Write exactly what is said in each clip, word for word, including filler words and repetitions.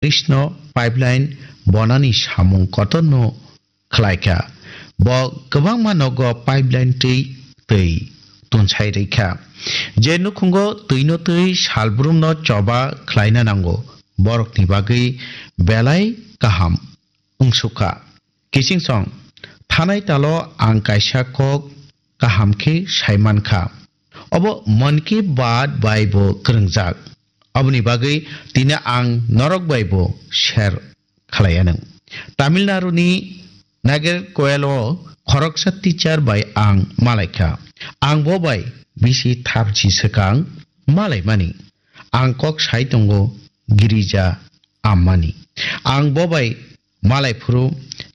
Krishna pipeline bonani samung kotorno khlaikha. Bo kwbangma nogo pipeline twi twi tunsai rwkha. Je nukhungo twino twi salbrumno choba khlaina nango, borokni bagwi belai kaham wngsukha. Kiching song, thanai talo ang kaisa kok kaham khe sai mankha. Obo Mann Ki Baat bai bo kwrwngjak. Oboni bagwi tini ang norok bai bo share khlai anw. Tamil Nadu ni Nagercoil o khoroksa teacher bai ang malaikha. Ang bo bai bisi thapchi swkang malaimani. Ang kok sai tongo Girija Ammani. Ang bo bai malai phuru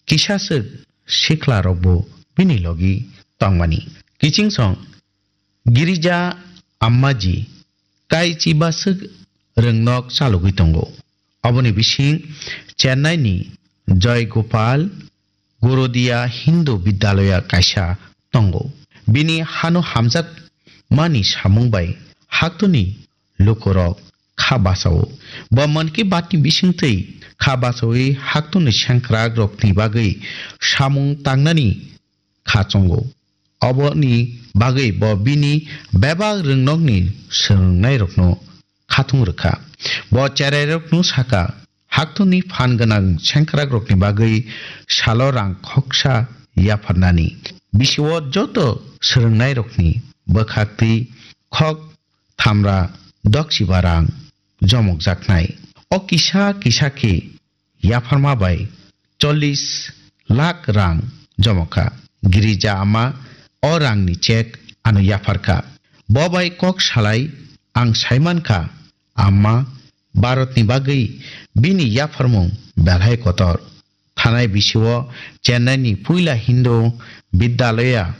kisa swk sikla rok bo bini logi tongmani. Kiching song Girija Ammaji kaichi baswk rwngnok chalogwi tongo. Oboni bising Chennai ni Joy Gopal Gorodia Hindu Vidyalaya kaisa tongo. Bini hano hamjak mani samung bai haktoni lukurok kha bachao. Bo Mann Ki Baat ni bisingtwi kha bachawi haktoni sengkrak rokni bagwi samung tangnani kha chongo. Oboni bagwi bo bini bebak rwngnokni swrwngnairokno khatung rwkha. Bo cherairokno saka, haktoni phan gwnang sengkrakrokni bagwi salo rang khoksa yapharnani. Bisio joto swrwngnairokni bwkhaktwi khok thamra doksiba rang jomokjaknai. O kisa kisa khe yapharma bai chollish lakh rang jomokha. Girija Amma o rangni chek ano yapharkha. Bo bai kok salai ang saimankha, Amma Bharatni bagwi bini yapharmung belai kotor. Thanai bisio Chennai ni puila Hindu Vidyalaya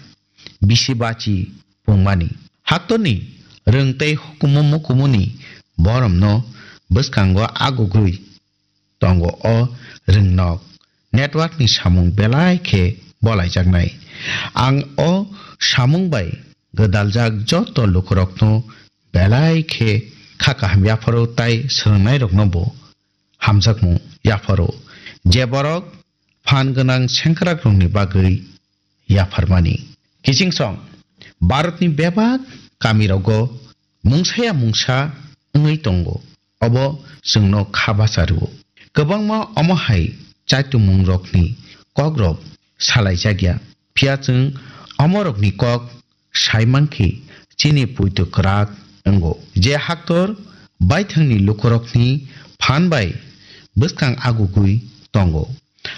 bisi bachi pungmani. Haktorni rwng tei hukumu mukumuni boromno bwskango agugwi tongo o rwngnok. Network ni samung belai khe bolaijaknai. Ang o samung bai gwdaljak joto lukurokno belai khe kha kaham yapharo tai swrwngnairokno bo hamjakmung yapharo. Je borok phan gwnang sengkrakrokni bagwi yapharmani. Kiching song, Bharatni bebak kamirogo mungsaya mungsa wngwi tongo. Obo chwngno kha bacha rwo. Kwbangma omo hai chaitungmungrokni kokrok salaijakya. Phiya chwng omorokni kok sai mankhe chini puitu kwrak wngo. Je haktor baithangni lukurokni phan bai bwskang agugwi tongo.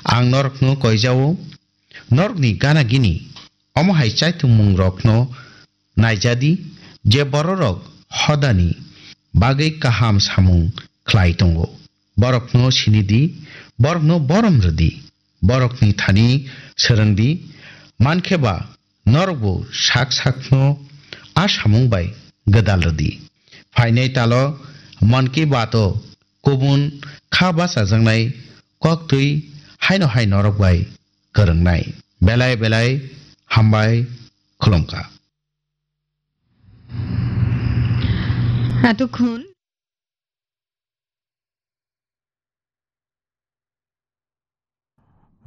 Ang norokno koijao, norokni gana gini omo hai chaitungmungrokno naijadi, je bororok hodani bagwi kaham samung khlai tongo. Borokno sinidi, borokno borom rwdi, borokni thani swrwngdi, mankhe ba norokbo sak sakno a samung bai gwdal rwdi. Phainai talo Mann Ki Baat o kubun kha bachajaknai koktwi haino hai norok bai kwrwngnai. Belai belai hambai khulumkha. এতক্ষণ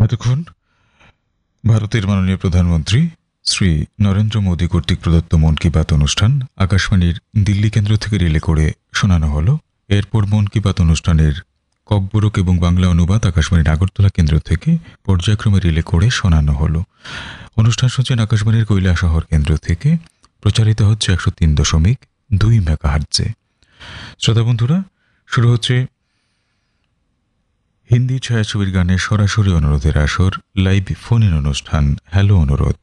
এতক্ষণ ভারতের মাননীয় প্রধানমন্ত্রী শ্রী নরেন্দ্র মোদী কর্তৃক প্রদত্ত মন কি বাত অনুষ্ঠান আকাশবাণীর দিল্লি কেন্দ্র থেকে রিলে করে শোনানো হলো। এরপর মন কি বাত অনুষ্ঠানের ককবরক এবং বাংলা অনুবাদ আকাশবাণীর আগরতলা কেন্দ্র থেকে পর্যায়ক্রমে রিলে করে শোনানো হলো। অনুষ্ঠান শুনছেন আকাশবাণীর কৈলাসহর কেন্দ্র থেকে, প্রচারিত হচ্ছে একশো তিন দশমিক দুই মেগাহার্টজে। শ্রোতা বন্ধুরা, শুরু হচ্ছে হিন্দি ছায়াছবির গানে সরাসরি অনুরোধের আসর, লাইভ ফোন ইন অনুষ্ঠান হ্যালো অনুরোধ।